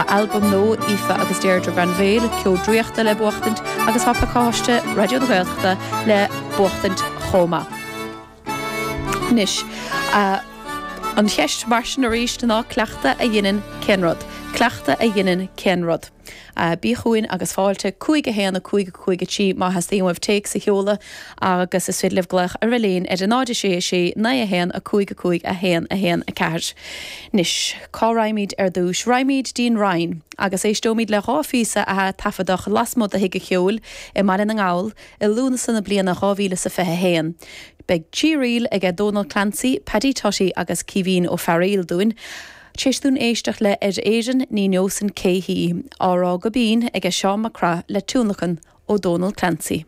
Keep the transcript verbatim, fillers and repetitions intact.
Tá albam nua Aoife agus Deirdre Granville ceol draíochta le buachtaint agus tá pacáiste Raidió na Gaeltachta le buachtaint chomh maith. Anois uh, an cheist mar sin arís ná cleachtadh a dhéanann cén rud. Cleachtadh a dhéanann cén rud. Uh, Bí chugainn agus fáilte cúig a haon a cúig cúig trí má theastaíonn uaibh téacs a sheoladh agus is féidir libh glaoch ar an líne ar a náid sé sé naoi a haon a cúig a cúig a haon a haon a ceathair. Anois cá raghaimid ar dtús, raghaimid dtí'n Rinn agus éisteoimid le dhá phíosa a taifeadadh lasmuigh de Thigh an Cheoil i mBaile na nGall i Lúnasa na bliana dhá mhíle sa fiche haon. Beidh trí ríl aige Donal Clancy, Paddy Tutty agus Caoimhín Ó Fearghaíl dúinn. Tar éis dúinn éisteacht le ar Éirinn ní neosainn cé hí, á rá go binn aige Seán Mac Craith le tionlacan ó Donal Clancy.